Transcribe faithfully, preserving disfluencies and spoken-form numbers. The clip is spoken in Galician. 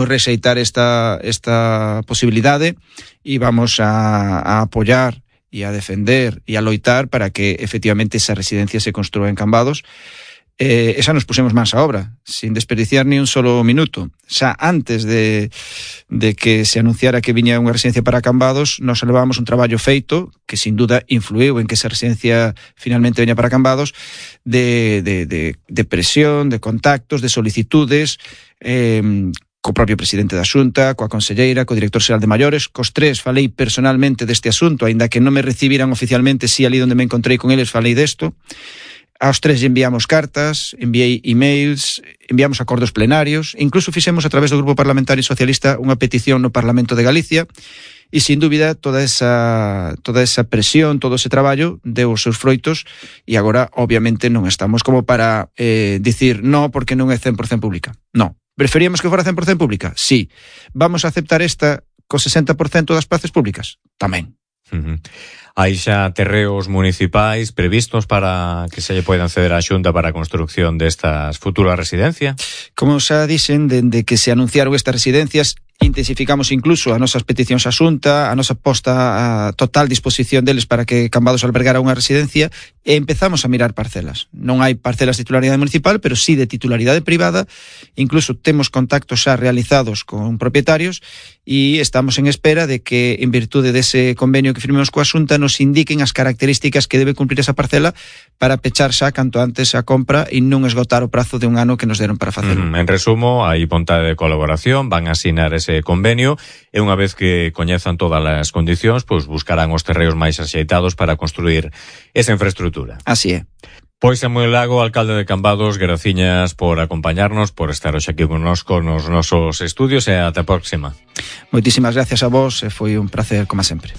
rexeitar esta, esta posibilidade e vamos a, a apoiar e a defender e a loitar para que efectivamente esa residencia se construa en Cambados. Eh, esa nos pusemos máis a obra, sin desperdiciar ni un solo minuto. Xa antes de, de que se anunciara que viña unha residencia para Cambados, nos levábamos un traballo feito, que sin duda influiu en que esa residencia finalmente veña para Cambados, de, de, de, de presión, de contactos, de solicitudes, eh, co propio presidente da Xunta, coa conselleira, co director xeral de Maiores, cos tres falei personalmente deste asunto, aínda que non me recibiran oficialmente, si ali onde me encontrei con eles falei desto. Aos tres enviamos cartas, enviei emails, enviamos acordos plenarios, incluso fixemos a través do Grupo Parlamentario Socialista unha petición no Parlamento de Galicia, e sin dúbida toda esa, toda esa presión, todo ese traballo deu os seus froitos, e agora obviamente non estamos como para eh, dicir no porque non é cen por cento pública. No. Preferíamos que fora cen por cento pública? Sí. Vamos a aceptar esta co sesenta por cento das plazas públicas? Tamén. Uh-huh. Hai xa terreos municipais previstos para que se lle poidan ceder á Xunta para a construcción destas futuras residencias? Como xa dixen, dende que se anunciaron estas residencias, intensificamos incluso as nosas peticións á Xunta, a nosa posta a total disposición deles para que Cambados albergara unha residencia, e empezamos a mirar parcelas. Non hai parcelas de titularidade municipal, pero sí de titularidade privada. Incluso temos contactos xa realizados con propietarios e estamos en espera de que, en virtude dese convenio que firmemos coa Xunta, nos indiquen as características que debe cumplir esa parcela para pechar xa canto antes a compra e non esgotar o prazo de un ano que nos deron para facelo. Mm, en resumo, hai vontade de colaboración, van a asinar ese convenio e unha vez que coñezan todas as condicións, pois buscarán os terreos máis axeitados para construir esa infraestructura. Así é. Pois Samuel Lago, alcalde de Cambados, graciñas por acompañarnos, por estar hoxe aquí connosco nos nosos estudios e ata a próxima. Moitísimas gracias a vos, e foi un placer como sempre.